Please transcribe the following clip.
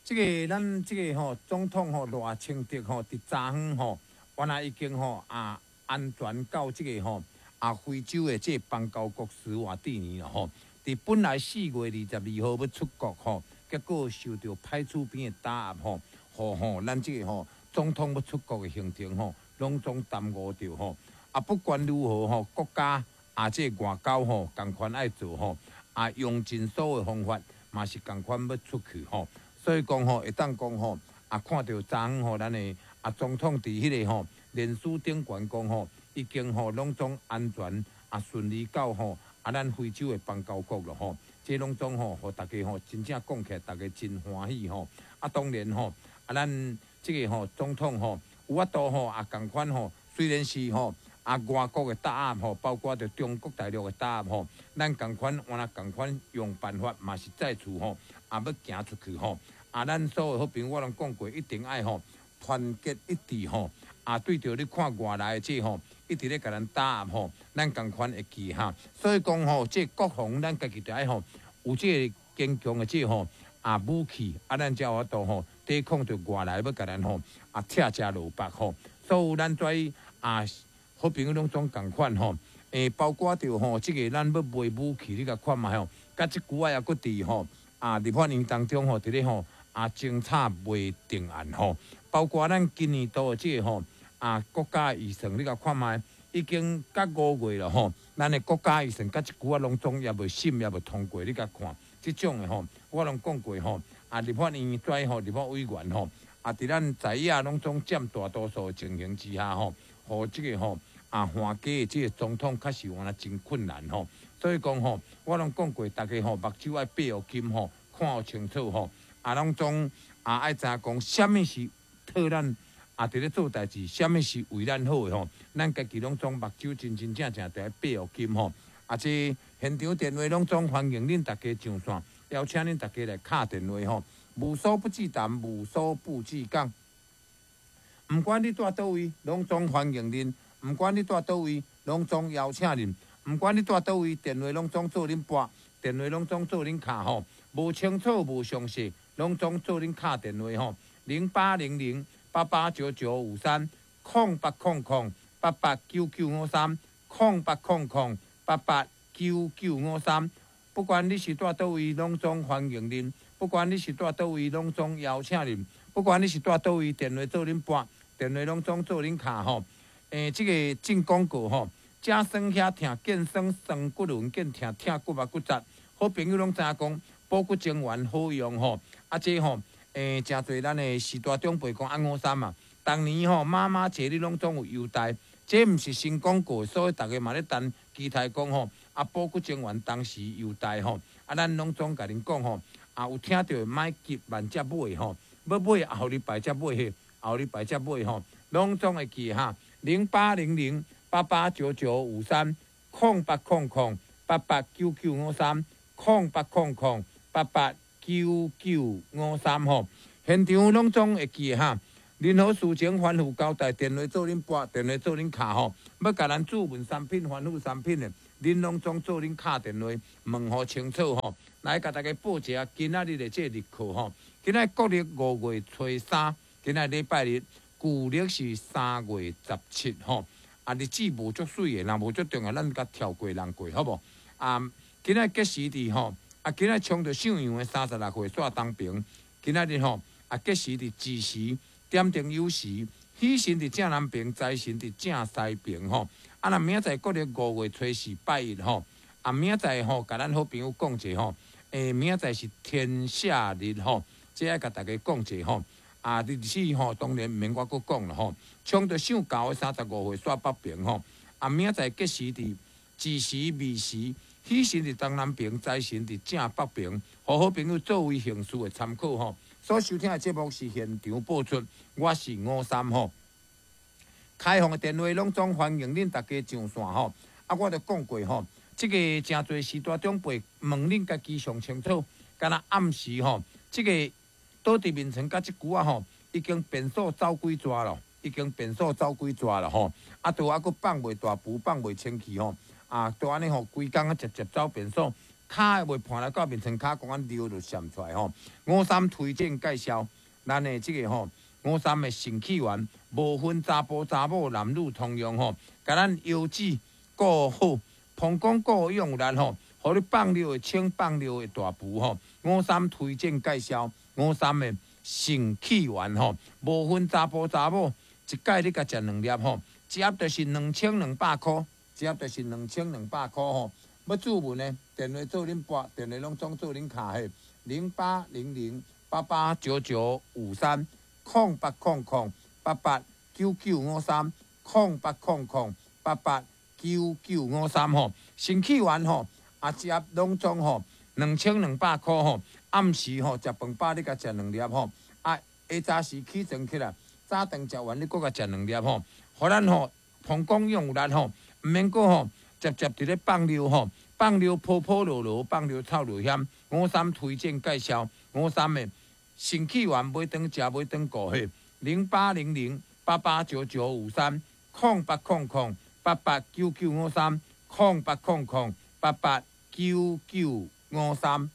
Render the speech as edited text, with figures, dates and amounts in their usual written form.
這个咱這个吼總統吼賴清德吼，佇昨昏吼，原來已經吼啊安全到這个吼啊非洲的這个邦交國史瓦蒂尼了吼。佇本來4月22號欲出國吼，結果受著歹厝邊的打壓吼，予吼咱這个吼總統欲出國的行程吼，攏總耽誤著吼。啊，不管如何吼，國家啊這个外交吼仝款愛做吼，啊用盡所有方法嘛是仝款欲出去吼。所以講吼，會當講吼，啊看著昨昏吼，咱的啊總統佇彼个吼臉書頂懸講吼，已經吼攏總安全啊順利到吼啊咱非洲的邦交國了吼。這攏總吼，予大家吼真正講起來，大家真歡喜吼。啊當然吼，啊咱這个吼總統吼有法度吼啊仝款吼，雖然是吼啊外國的打壓吼，包括著中國大陸的打壓吼，咱仝款原來仝款用辦法嘛是再次吼啊欲行出去吼。啊，咱所有好朋友我攏講過，一定愛吼團結一致吼。啊，對著你看外來的這吼，一直咧共咱打壓吼，咱仝款會記哈。所以講吼，這國防咱家己著愛吼有這个堅強的這吼啊武器，啊，咱才有法度吼抵抗著外來欲共咱吼啊拆食蘿蔔吼。所有咱跩啊好朋友攏總仝款吼，包括著吼這个咱欲賣武器，你共看覓吼，佮這久仔猶閣佇吼啊立法院當中吼佇咧吼啊偵查未定案吼，包括咱今年度的這個吼啊國家預算，你共看覓，已經甲5月了吼，咱的國家預算佮這久仔攏總猶未審，猶未通過，你共看，這種的吼，我攏講過吼，啊立法院跩吼立法委員吼，啊佇咱在野攏總佔大多數的情形之下吼，予這个吼啊換屆的這个總統確實原來真困難吼，所以講吼，我攏講過，大家吼目睭愛閉予緊吼，看予清楚吼。啊，攏總啊愛知影講，啥物是替咱啊佇咧做代誌，啥物是為咱好的吼。咱家己攏總目睭真真正正著愛閉予緊吼。啊，這現場電話攏總歡迎恁大家上線，邀請恁大家來敲電話吼。無所不至談，無所不至講。毋管你蹛佗位，攏總歡迎恁；毋管你蹛佗位，攏總邀請恁；毋管你蹛佗位，電話攏總做恁撥，電話攏總做恁敲吼。無清楚，無詳細，攏總做恁敲電話吼，0800889953，0800889953，0800889953。不管你是蹛佗位，攏總歡迎恁；不管你是蹛佗位，攏總邀請恁；不管你是蹛佗位，電話做恁撥，電話攏總做恁敲吼。這个進廣告吼，遮酸遐疼，見酸酸骨輪，見疼疼骨啊骨折。好朋友攏知影講，補骨精丸好用吼，啊這吼，誠濟咱的序大長輩講啊五三嘛，逐年吼媽媽節你攏總有優待，這毋是新廣告，所以逐家嘛咧等期待講吼，啊補骨精丸當時優待吼，啊咱攏總共恁講吼，啊有聽著莫急慢才買吼，欲買後禮拜才買去，後禮拜才買吼，攏總會記哈，0800889953，0800889953，0800889953吼，現場攏總會記哈。任何事情吩咐交代，電話做恁撥，電話做恁敲吼。欲共咱注問產品、吩咐產品的，恁攏總做恁敲電話問予清楚吼。來，共大家報一下今仔日的這个日課吼。今仔國曆5月初3，今仔禮拜日，舊曆是3月17吼。啊，日子無足媠的，若無足重要，咱共跳過人過，好無？啊，今仔吉時佇吼，啊，今仔衝著上陽的36歲煞東平，今仔日吼，啊，吉時佇子時。點燈酉時，喜神佇正南爿，財神佇正西爿吼。啊，若明仔載國曆5月初4拜一吼，啊，明仔載吼，共咱好朋友講者吼，明仔載是天赦日吼，這愛共大家講者吼。啊，日子吼，當然毋免我閣講啦吼。衝著上猴的35歲煞北爿吼，啊，明仔載吉時佇子時、未時，喜神佇東南爿，財神佇正北爿，予好朋友作為行事的參考吼。所收聽的節目是現場播出，我是五三吼。開放的電話攏總歡迎恁大家上線吼。啊，我著講過吼，這个誠濟序大長輩問恁家己上清楚，敢若暗時吼，這个倒佇眠床佮這久仔吼，已經便所走幾逝咯，已經便所走幾逝咯吼。啊，都猶閣放袂大浮，放袂清氣吼。啊，都按呢吼，規工啊捷捷走便所，跤會袂盤來到面床跤，講按尿就閃出來吼。五三推薦介紹，咱的這个吼，五三的腎氣丸，無分查埔查某男女通用吼，共咱腰子顧好，膀胱顧用力吼，予你放尿會清，放尿會大浮吼。五三推薦介紹，五三的腎氣丸吼，無分查埔查某，一擺你共食兩粒吼，一盒就是2200箍，一盒就是2200箍吼。欲注文的，電話做恁撥，電話攏總做恁敲的，0800889953，0800889953，0800889953吼。腎氣丸吼，啊，一盒攏總吼，2200箍吼。暗時吼，食飯飽你共食兩粒吼，啊，下早時起床起來，早頓食完你閣共食兩粒吼，予咱吼膀胱用力吼，毋免閣吼。捷捷佇咧放尿吼，放尿泡泡落落，放尿臭尿險。五三推薦介紹，五三的腎氣丸買轉食買轉顧嘿，0800889953，0800889953，0800889953。